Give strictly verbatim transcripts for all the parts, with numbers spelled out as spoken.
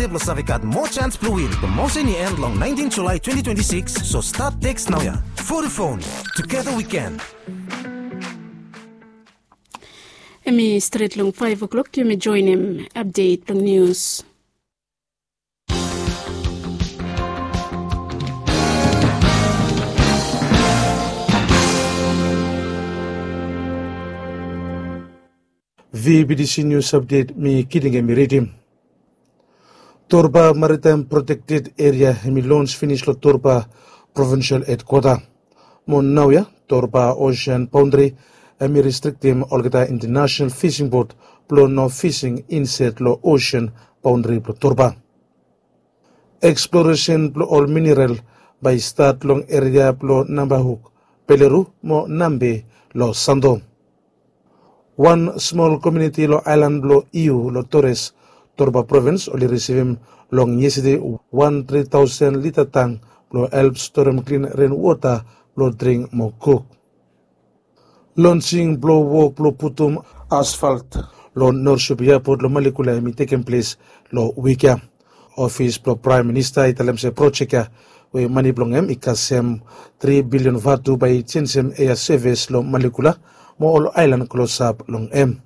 De blong save gat moa chance blong win. Promotion i end long nineteen July twenty twenty-six, so start text naoia. Vodafone, together we can. Hemi stret long five o'clock, yumi joenem update blong nius. V B T C News Update, mi Kiting hemi ridim. Torba Maritime Protected Area hemi lons finis long Torba Provincial Headquarter. Mo naoia Torba Ocean Boundary hemi restriktim olgeta international fishing boat blong no fishing insaed long ocean boundary blong Torba. Eksploresen blong ol mineral bae i stat long eria blong Nambahuk, Peluru mo Nambe long Santo. Wan smol komuniti long aelan blong Iu long Torres, Torba Provins oli risivim long yestade wan tri taosen lita tang blong help storem klin renwota blong dring mo kuk. Lonsing blong wok blong putum asfalt long Norsup Eapot long Malekula hemi tekem ples long wik ya. Ofis blong Praem Minista i talem se projek ya we mane blong hem i kasem tri bilion vatu bae i jenjem ea sevis long Malekula mo ol aelan klosap long hem.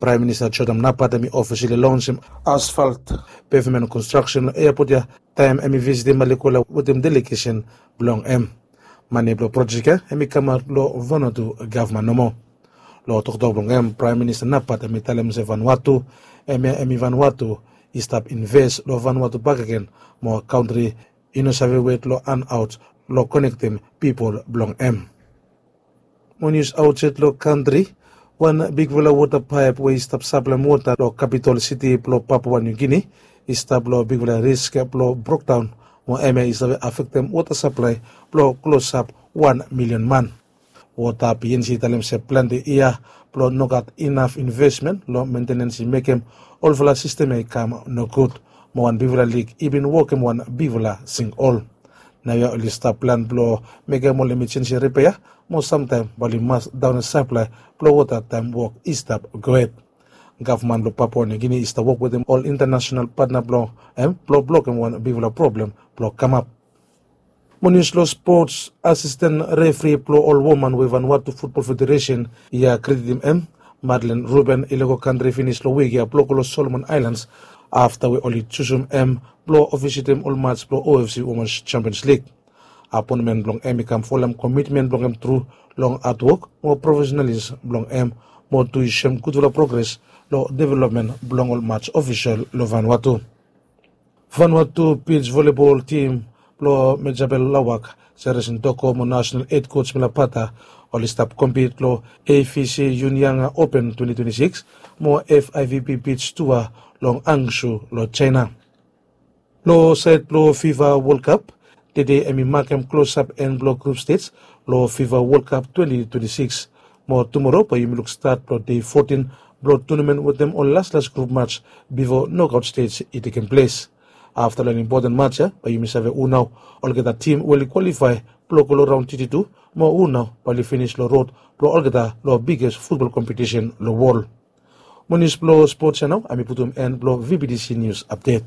Praem Minista Jordan Napat hemi ofisali lonsem asfalt pevmen konstraksen long eapot ya taem hemi visitim Malekula wetem delegesen blong hem. Mane blong projek ya hemi kamaot long Vanuatu gavman nomo. Long toktok blong hem, Praem Minista Napat hemi talem se Vanuatu hemia hemi Vanuatu i stap inves long Vanuatu bakegen mo kantri i no save wet long hanaot long konektem pipol blong hem. Mo nius aotsaed long kantri, wan bigfala wota paep we i stap saplaem wota long kapitol siti blong Papua Niu Gini i stap long bigfala risk blong brokdaon, mo hemia i save afektem wota saplae blong klosap wan milion man. Wota P N G i talem se plante yia blong nogat inaf invesmen long mentenens i mekem olfala sistem ya i kam nogud, mo wan bigfala lik i bin wokem wan bigfala sinkhol. Naoia oli stap plan blong mekem ol emejensi ripea mo samtaem bae oli mas daonem saplae blong wota taem wok i stap gohed. Gavman blong Papua Niu Gini i stap wok wetem ol intanasenal patna blong hem blong blokem wan bigfala problem blong kamap. Mo nius long spots, asisten refri blong ol woman we Vanuatu Futbol Federesen i ya kreditim hem, Madeleine Ruben, i lego kantri finis long wik ya blong go long Solomon Aelans afta we oli jusum hem blong ofisitim ol maj blong O F C Womans Champions Lig. Apoenmen blong hem i kam folem komitmen blong hem tru long hadwok mo profesenalis blong hem, mo tu i soem gudfala progres long developmen blong ol maj ofisol long Vanuatu. Vanuatu bij volebol tim blong Mejabel Lawak, Seresin Toko mo nasenal hed koj Mila Pata oli stap kompit long A F C Yungyanga Open twenty twenty-six mo F I V B bij tua long Hangzhou long Jaena. Long saed blong FIFA World Cup, tede hemi makem klosap en blong grup stej long FIFA World Cup twenty twenty-six. Mo tumoro bae yumi luk stat blong dei fotin blong tunamen wetem ol laslas grup maj bifo nokaot stej i tekem ples. Afta long impoten maj ya bae yumi save hu nao olgeta tim we oli kwalifae blong go long raon teti tu mo hu nao bae oli finis long rod blong olgeta long biges futbol kompetisen long wol. Mo nius blong spots ya nao hemi putum en blong V B T C Nius Apdet.